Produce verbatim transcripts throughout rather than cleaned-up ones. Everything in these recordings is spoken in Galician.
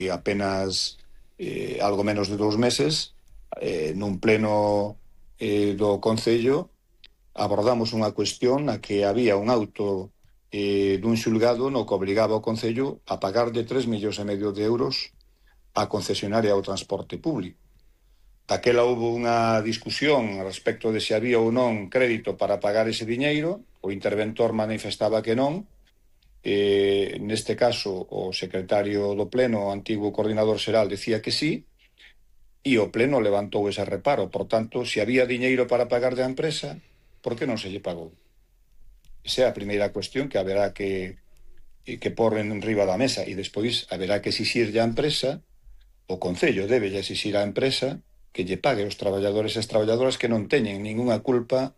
e apenas eh, algo menos de dous meses, eh, nun pleno eh, do Concello, abordamos unha cuestión na que había un auto eh, dun xulgado no que obrigaba o Concello a pagar de tres millóns e medio de euros a concesionaria ao transporte público. Daquela houve unha discusión respecto de se había ou non crédito para pagar ese diñeiro. O interventor manifestaba que non. Eh, neste caso, o secretario do Pleno, o antigo coordinador xeral, decía que sí, e o Pleno levantou ese reparo. Por tanto, se había diñeiro para pagar da empresa, por que non se lle pagou? Esa é a primeira cuestión que haberá que, que pôr en riba da mesa, e despois haberá que exixirlle á empresa, o Concello debe exixir á empresa que lle pague aos traballadores e as traballadoras que non teñen ningunha culpa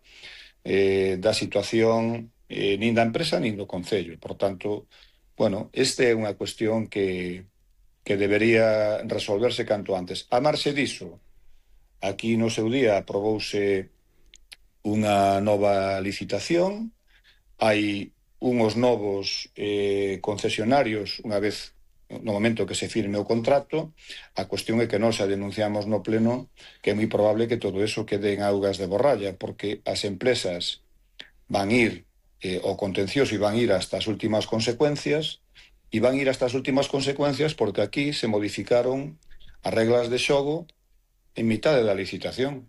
eh, da situación eh, nin da empresa nin do Concello. Por tanto, bueno, esta é unha cuestión que, que debería resolverse canto antes. A marxe diso, aquí no seu día aprobouse unha nova licitación, hai unhos novos eh, concesionarios unha vez no momento que se firme o contrato. A cuestión é que nós a denunciamos no Pleno que é moi probable que todo eso quede en augas de borralla, porque as empresas van ir eh, ao contencioso e van ir hasta as últimas consecuencias, e van ir hasta as últimas consecuencias porque aquí se modificaron as reglas de xogo en mitade da licitación.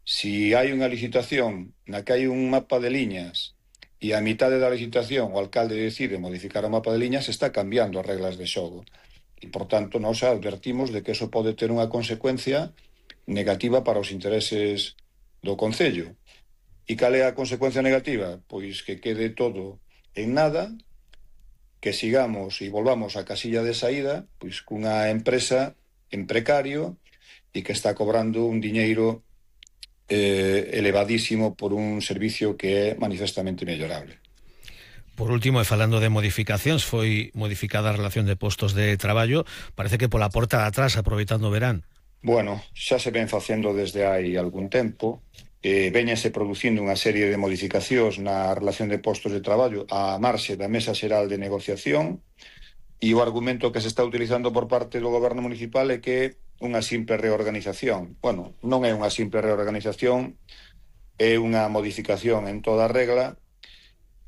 Si hai unha licitación na que hai un mapa de liñas e a mitade da licitación o alcalde decide modificar o mapa de liñas, está cambiando as reglas de xogo. E, por tanto, nós advertimos de que eso pode ter unha consecuencia negativa para os intereses do Concello. E cal é a consecuencia negativa? Pois que quede todo en nada, que sigamos e volvamos á casilla de saída pois cunha empresa en precario e que está cobrando un diñeiro Eh, elevadísimo por un servicio que é manifestamente mellorable. Por último, e falando de modificacións, foi modificada a relación de postos de traballo, parece que pola porta de atrás, aproveitando o verán. Bueno, xa se ven facendo desde hai algún tempo, eh, veñase producindo unha serie de modificacións na relación de postos de traballo á marxe da Mesa Xeral de Negociación, e o argumento que se está utilizando por parte do Goberno Municipal é que unha simple reorganización. Bueno, non é unha simple reorganización, é unha modificación en toda regla,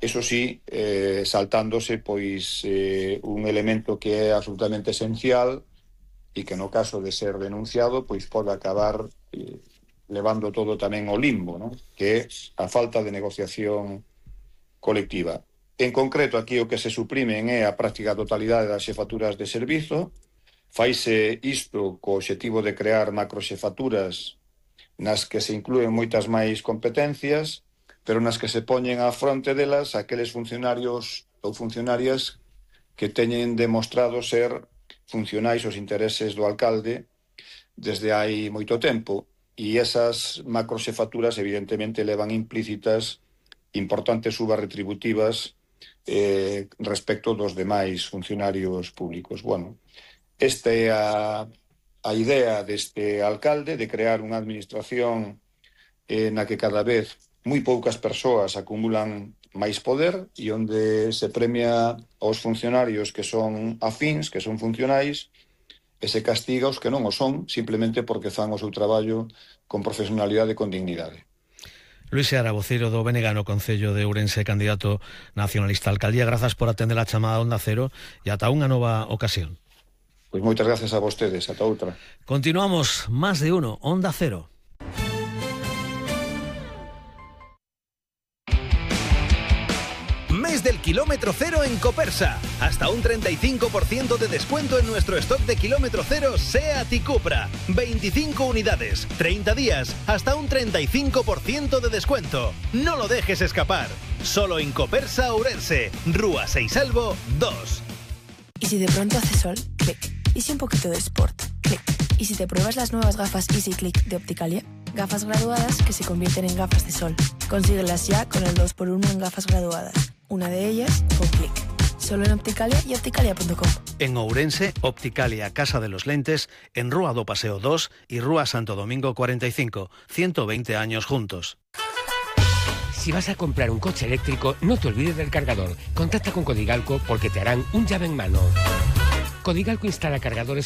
eso sí, eh, saltándose pois eh, un elemento que é absolutamente esencial e que no caso de ser denunciado pois pode acabar eh, levando todo tamén ao limbo, ¿no? Que é a falta de negociación colectiva. En concreto, aquí o que se suprimen é a práctica totalidade das xefaturas de servizo. Faise isto co obxectivo de crear macroxefaturas nas que se inclúen moitas máis competencias, pero nas que se poñen á fronte delas aqueles funcionarios ou funcionarias que teñen demostrado ser funcionais aos intereses do alcalde desde hai moito tempo, e esas macroxefaturas evidentemente levan implícitas importantes subas retributivas eh, respecto dos demais funcionarios públicos. Bueno, esta é a, a idea deste alcalde de crear unha administración eh, na que cada vez moi poucas persoas acumulan máis poder e onde se premia aos funcionarios que son afíns, que son funcionais, e se castiga os que non o son, simplemente porque fan o seu traballo con profesionalidade e con dignidade. Luis Seara, voceiro do B N G no Concello de Ourense, candidato nacionalista a alcaldía, grazas por atender a chamada Onda Cero e ata unha nova ocasión. Pois moitas gracias a vostedes, ata outra. Continuamos, Más de Uno, Onda Cero. Mes del kilómetro cero en Copersa. Hasta un treinta y cinco por ciento de descuento en nuestro stock de kilómetro cero SEAT y Cupra. veinticinco unidades, treinta días, hasta un treinta y cinco por ciento de descuento. No lo dejes escapar. Solo en Copersa, Ourense, Rúa Seisalvo dos. ¿Y si de pronto hace sol? Clic. ¿Y si un poquito de sport? Clic. ¿Y si te pruebas las nuevas gafas Easy Click de Opticalia? Gafas graduadas que se convierten en gafas de sol. Consíguelas ya con el dos por uno en gafas graduadas. Una de ellas con Clic. Solo en Opticalia y opticalia punto com. En Ourense, Opticalia, Casa de los Lentes, en Rúa do Paseo dos y Rúa Santo Domingo cuarenta y cinco. ciento veinte años juntos. Si vas a comprar un coche eléctrico, no te olvides del cargador. Contacta con Codigalco porque te harán un llave en mano. Codigalco instala cargadores